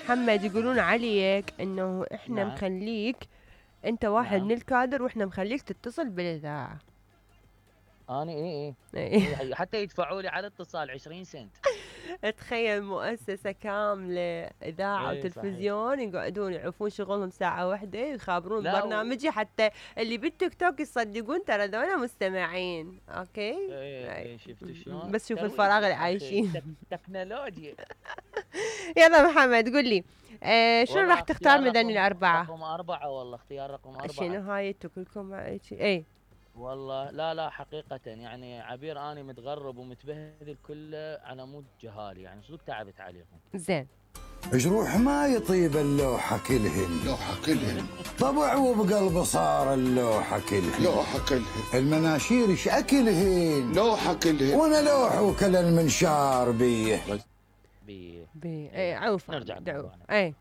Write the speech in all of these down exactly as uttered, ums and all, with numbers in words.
محمد يقولون عليك انه احنا نعم. مخليك انت واحد نعم. من الكادر واحنا مخليك تتصل بالاذاعه. انا اي اي إيه. حتى يدفعوا لي على اتصال عشرين سنت. تخيل مؤسسة كاملة إذاعة إيه وتلفزيون يقعدون يعرفون شغلهم ساعة واحدة يخابرون لا و- برنامجي حتى اللي بالتيك توك يصدقون ترى ذولا مستمعين. اوكي. ايه ايه شفتوا شلون؟ بس شوف ترويج الفراغ اللي يا أخي، عايشين. تك- تكنولوجيا. يلا محمد قل لي آه شنو والله راح تختار اختيار من ذني رقم- الأربعة؟ رقم أربعة والله اختيار رقم أربعة. شنو هاي كلكم اي والله لا لا حقيقة يعني عبير أنا متغرب ومتبهدل كله على مود جهالي، يعني صدق تعبت عليهم. زين. جروح ما يطيب اللوحة كلهن. لوحة كلهن. طبع وبقلب صار اللوحة كلهن. لوحة كلهن. المناشير ايش اكلهن. لوحة كلهن. وانا لوح وكل المنشار بيه. بي بي اي عوف نرجع دعوة. لموضوعنا. اي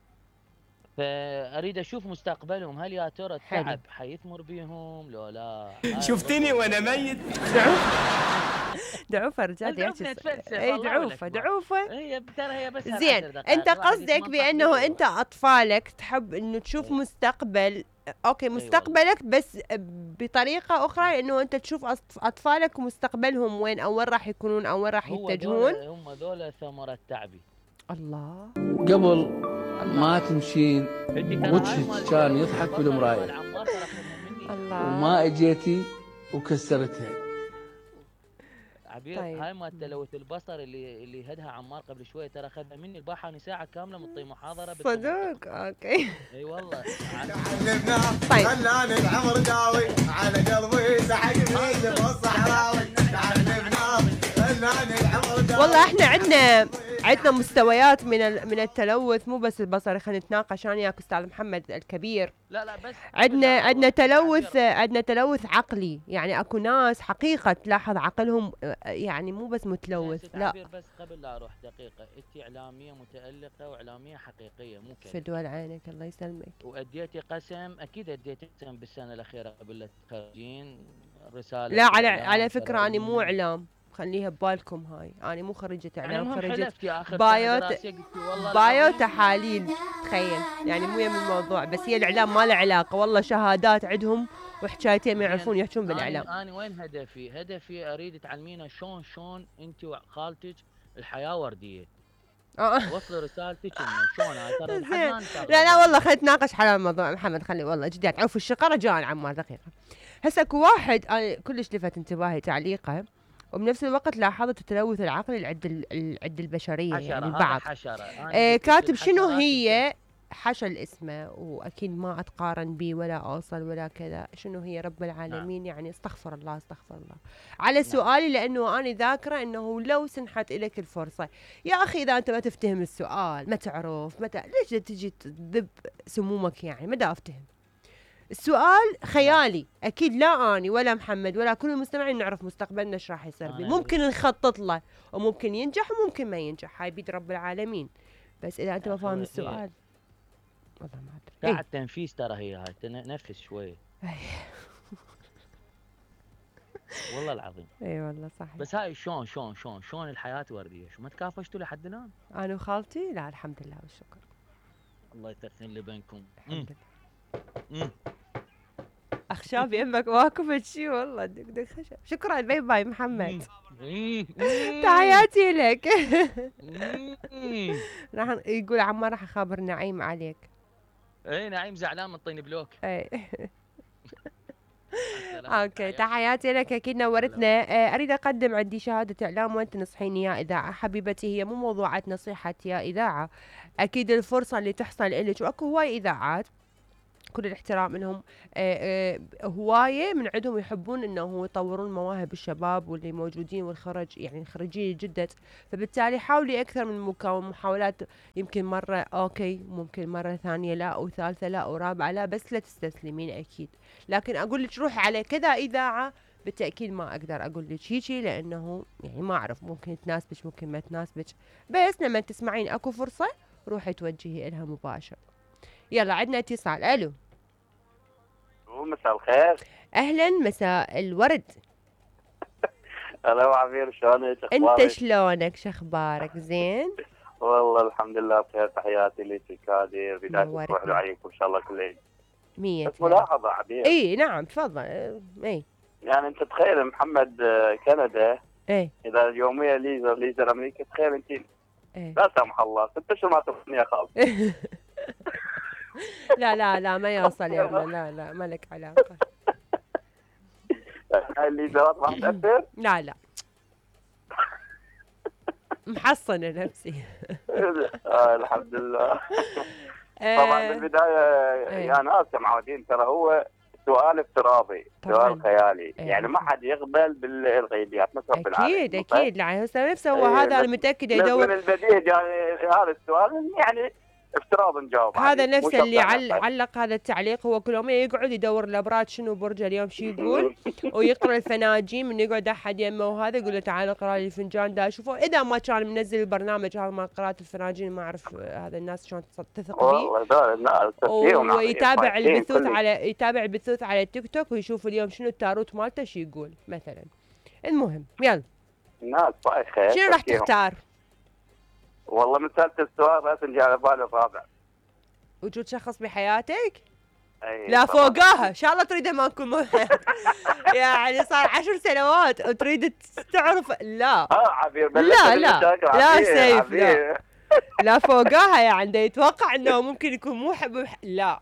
فأريد أشوف مستقبلهم، هل يا ترى حلو. التعب حيثمر بيهم لو لا؟ شفتني وانا ميت. دعوفة رجال دعوفة يحكي. نتفلسف، اي الله دعوفة والأكبر. دعوفة. هي ترى هي بس زين عشر دقائق. انت الواحد قصدك يتمنطق بانه بيه. انت اطفالك تحب انه تشوف إيه. مستقبل اوكي مستقبلك بس بطريقه اخرى انه انت تشوف أطف- اطفالك ومستقبلهم وين او وين راح يكونون او وين راح هو يتجهون. دولة- هم ذولا ثمرة تعبي. الله. قبل ما تمشين أنت ترى هاي وجهك مال- كان يضحك البصل بالمراية مال عمار ترى أخذها مني. الله. وما اجيتي وكسرتها. عبير طيب. هاي مال تلوث البصر اللي اللي هدها عمار قبل شوي ترى اخذها مني الباحة ساعة كاملة مطي محاضرة بالتمنطق. صدق اوكي. اي والله. طيب. خلاني العمر داوي على قلبي سحق بيد الصحراوي. خلاني العمر داوي. والله احنا عندنا عندنا مستويات من ال- من التلوث مو بس البصري. خلينا نتناقش انا وياك استاذ محمد الكبير. لا لا بس عندنا قبل لا عندنا أروح، تلوث عبير، عندنا تلوث عقلي. يعني اكو ناس حقيقة تلاحظ عقلهم آه، يعني مو بس متلوث ست لا. عبير بس قبل لا اروح دقيقة، انت اعلامية متألقة واعلامية حقيقية مو كذب. فدوى عينك الله يسلمك. واديتي قسم، اكيد اديتي قسم بالسنة الأخيرة قبل لا تخرجين رسالة. لا على إعلام على فكرة أنا ترى مو إعلام. خليها ببالكم هاي. أنا مو خريجة يعني إعلام. المهم خريجة حلفت يا اخي بايو بسنة ت- دراسية قلتي والله بايو العظيم. تحاليل. تخيل يعني مو يم الموضوع. بس هي الإعلام ما له علاقة. والله شهادات عندهم وحكايتين ما يعرفون يحجون بالإعلام. أنا, انا وين هدفي؟ هدفي اريد تعلمينا شلون شلون انت وخالتك الحياه ورديه. آه. وصلوا رسالتك انه شلون هاي ترى لحد زين. ما نتفرج. لا لا والله خلينا نتناقش على الموضوع محمد. خلي والله جديات عوف الشقرة جاء عمار دقيقة. هسه اكو واحد أنا كلش لفت انتباهي تعليقه وبنفس الوقت لاحظت التلوث العقلي اللي عند ال- ال- عند البشرية حشرة، يعني هذا البعض. حشرة. أنا آه قلت كاتب الحشرات شنو الكل- هي حشل اسمه واكيد ما اتقارن بي ولا اوصل ولا كذا. شنو هي رب العالمين يعني استغفر الله استغفر الله على سؤالي لانه انا ذاكره انه لو سنحت لك الفرصه يا اخي اذا انت ما تفتهم السؤال ما تعرف متى ليش تجي تذب سمومك يعني ما دا افتهم السؤال خيالي اكيد لا اني ولا محمد ولا كل المستمعين نعرف مستقبلنا ايش راح يصير بيه. ممكن نخطط له وممكن ينجح وممكن ما ينجح هاي بيد رب العالمين. بس اذا انت ما فاهم السؤال والله ما ادري. ساعة تنفيذ ترى هي هاي تنفس شوي. والله العظيم. اي والله صحيح. بس هاي شلون شلون شلون شلون الحياة وردية؟ شو ما تكافشتوا لحد الان؟ انا وخالتي لا الحمد لله والشكر. الله يثخن اللي بينكم. الحمد لله. مم. اخشاب يمك واقف شي والله دق دق خشب. شكرا باي باي محمد. تحياتي لك. راح يقول عمار راح اخابر نعيم عليك. اي نعيم زعلان من طين بلوك. اي اوكي تحياتي لك اكيد نورتنا. آه، اريد اقدم عندي شهاده اعلام وانت تنصحيني يا اذاعه حبيبتي. هي مو موضوعات نصيحه يا اذاعه اكيد الفرصه اللي تحصل لك واكو هواي اذاعات كل الاحترام لهم آه آه هوايه من عندهم يحبون انه يطورون مواهب الشباب واللي موجودين والخرج يعني الخريجين الجدد. فبالتالي حاولي اكثر من مكون محاولات يمكن مره اوكي ممكن مره ثانيه لا وثالثه لا ورابعه لا بس لا تستسلمين اكيد. لكن اقول لك روحي على كذا اذاعه بالتاكيد ما اقدر اقول لك هيجي لانه يعني ما اعرف ممكن تناسبك ممكن ما تناسبك. بس لما تسمعين اكو فرصه روحي توجهي لها مباشر. يلا عندنا اتصال. الو مساء الخير. اهلا مساء الورد. هلا ابو عبير شلونك؟ انت شلونك شخبارك؟ زين والله الحمد لله بخير. تحياتي لك هذه بداية نورتنا. اسبوع حلو عليكم ان شاء الله كل عيد. مية بس ملاحظة عبير. اي نعم تفضل. آه، اي يعني انت تخيل محمد آه، كندا اي اذا اليومية ليزر ليزر امريكا، تخيل انت اي لا سمح الله ست اشهر ما تغنيها خالص. لا لا لا ما يوصل يا عمر، لا لا ما لك علاقة. هاي الليزرات راح تأثر؟ لا لا محصنة نفسي. آه الحمد لله. آه، طبعا بالبداية إيه. يا ناس يا معودين ترى هو سؤال افتراضي، طبعاً. سؤال خيالي، إيه. يعني ما حد يقبل بالغيبيات بس رب العالمين. اكيد اكيد لا هسه نفسه هو إيه، هذا انا بس- متأكدة بس من يدور. البديهي يعني هذا السؤال يعني افتراض نجاوب هذا عليه، مو نفسه شرط اللي أنا عل... أفهم. علق هذا التعليق، هو كل يوم يقعد يدور الابراج شنو برجه اليوم شو يقول، ويقرا الفناجين من يقعد احد يمه وهذا يقول له تعال اقرا لي الفنجان ده اشوفه، اذا ما كان منزل البرنامج هذا مال قراءة الفناجين ما اعرف هذا الناس شلون تثق به. والله ده لا تفكيرهم عظيم، ويتابع فايتين البثوث كل- على يتابع البثوث على التيك توك ويشوف اليوم شنو التاروت مالته شو يقول مثلا. المهم يلا الناس بايخه. شنو راح تفكيرهم. تختار؟ والله من سالت السؤال بس جاء على بالي الرابع. وجود شخص بحياتك؟ أي لا طبعاً. فوقاها ان شاء الله تريده ما نكون مو يعني صار عشر سنوات وتريد تعرف. لا اه عبير لا، بلشت لا، بالمشاكل. لا عبير، سيف، عبير. لا فوقاها يعني ده يتوقع انه ممكن يكون مو حب بح... لا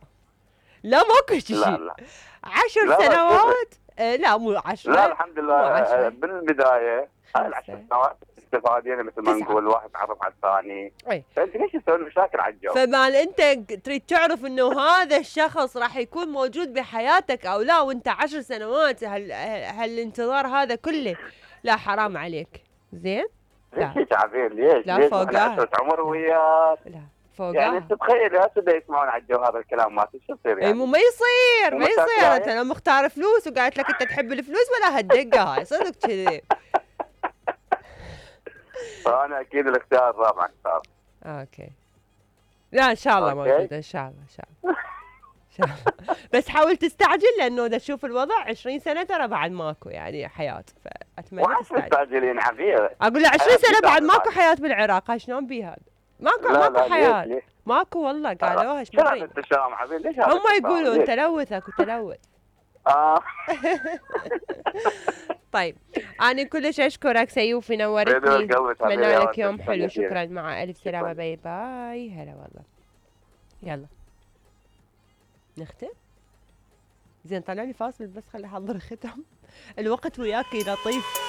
لا ماكو شيء. لا لا عشر لا، لا، سنوات آه لا مو عشرة. لا الحمد لله. مو عشرة. آه، بالبدايه هاي العشر خمسة. سنوات استفادينا مثل ما تسعة. نقول، واحد تعرف على الثاني. أي. فانت ليش تسوي مشاكل على الجو؟ فمال انت تريد تعرف انه هذا الشخص راح يكون موجود بحياتك او لا وانت عشر سنوات هال... هالانتظار هذا كله، لا حرام عليك. زين لا ليش يا عبير ليش؟ لا ليش فوقها. احنا عشرة عمر وياك؟ لا يعني فوقها. انت تخيل هسه دا يسمعون على الجو هذا الكلام مالتي شو يصير اي يعني؟ مو ما يصير ما مو مساكين يصير. يعني؟ انت لو مختار فلوس وقالت لك انت تحب الفلوس ولا هالدقه هاي صدق كذي. فانا اكيد الاختيار الرابع اختار. اوكي لا ان شاء الله أوكي. موجوده ان شاء الله ان شاء الله ان شاء الله. بس حاول تستعجل لانه اذا تشوف الوضع عشرين سنه ترى بعد ماكو يعني حياه، فاتمنى وعش تستعجل. مستعجلين عبير؟ اقول له عشرين حياة سنه بعد مستعجلة. ماكو حياه بالعراق. هاي شلون بي هذا؟ ماكو لا ماكو لا حياه ليش ليش؟ ماكو والله قالوها ايش شو هذا مرين. التشاؤم عبير؟ ليش هذا هم التشاؤم؟ يقولون ليش؟ تلوث اكو تلوث. اه طيب انا كلش اشكرك سيوفي بدون نورتني. قلبك حبيبي اتمنى يا لك ولد. يوم حلو. شكراً. شكرا مع الف سلامه. شكراً. باي باي. هلا والله. يلا نختم. زين طلع لي فاصل بس خلي احضر ختم. الوقت وياك لطيف.